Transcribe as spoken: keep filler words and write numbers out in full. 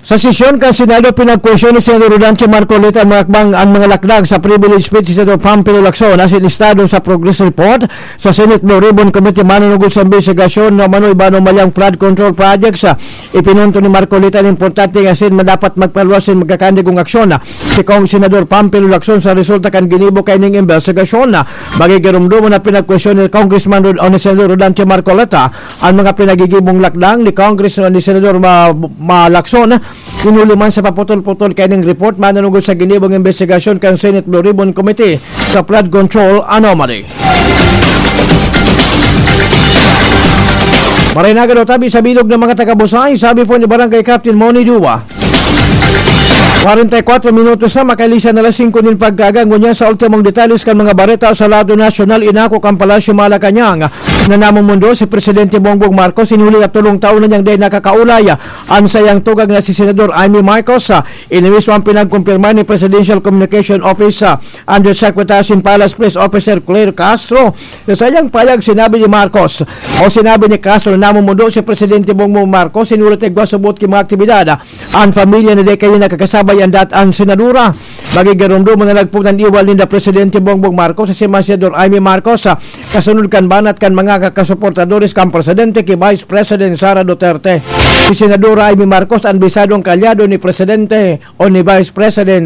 Sa sesyon kan Senado, pinagkwestiyon ni Senador Rodante Marcoleta ang mga akbang, ang mga lakdang sa privilege speech ni Senador Pampilo Lacson asin estado sa progress report sa Senate Blue Ribbon Committee manunugod sa imbestigasyon na manoy bano malyang flood control projects. Ipinunto ni Marcoleta na importante nga asin madapat magpaluwas sin magkakandigong aksyon si Cong Senador Pampilo Lacson sa resulta kan ginibo kaining imbestigasyon. Magigirumduman na pinagkwestiyon ni Congressman Rod-, o ni Senador Rodante Marcoleta ang mga pinagigibong lakdang ni Congressman ni Senador Ma-, Ma-, Lacson. Hinuli man sa paputol-putol kaining report manunugod sa ginibong imbestigasyon kan Senate Blue Ribbon Committee sa flood control anomaly. Marinagan o tabi sa bilog ng mga taga-Busay, sabi po ni Barangay Captain Moni Dua. Kwarenta y kwatro minutos na, makalisan na alas singko nin pagkaaga. Ngunyan sa ultimong detalles kan mga bareta sa lado nasyonal, inako kan Palasyo Malacañang na namumundo si Presidente Bongbong Marcos, hinuli na tolong taon na niyang dai nakakaulay an saiyang tugang na si Senador Imee Marcos. Ini mismo ang pinagkumpirma ni Presidential Communication Office, ah, Undersecretary sin Palace Press Officer Claire Castro. Sa saiyang payag, sinabi ni Marcos, o sinabi ni Castro, na namumundo si Presidente Bongbong Marcos, hinuli ta igwa subot ki mga aktibidad an pamilya na dai kayo nakakasabay an dat-, an senadora. Magigirumduman na nagpugnan iwal ninda Presidente Bongbong Marcos asin si Senador Imee Marcos, ah, kasunod kan banat kan mga kasuportadores kan Presidente ki Vice President Sara Duterte. Si Senadora Imee Marcos an bisadong kaalyado ni Presidente o ni Vice President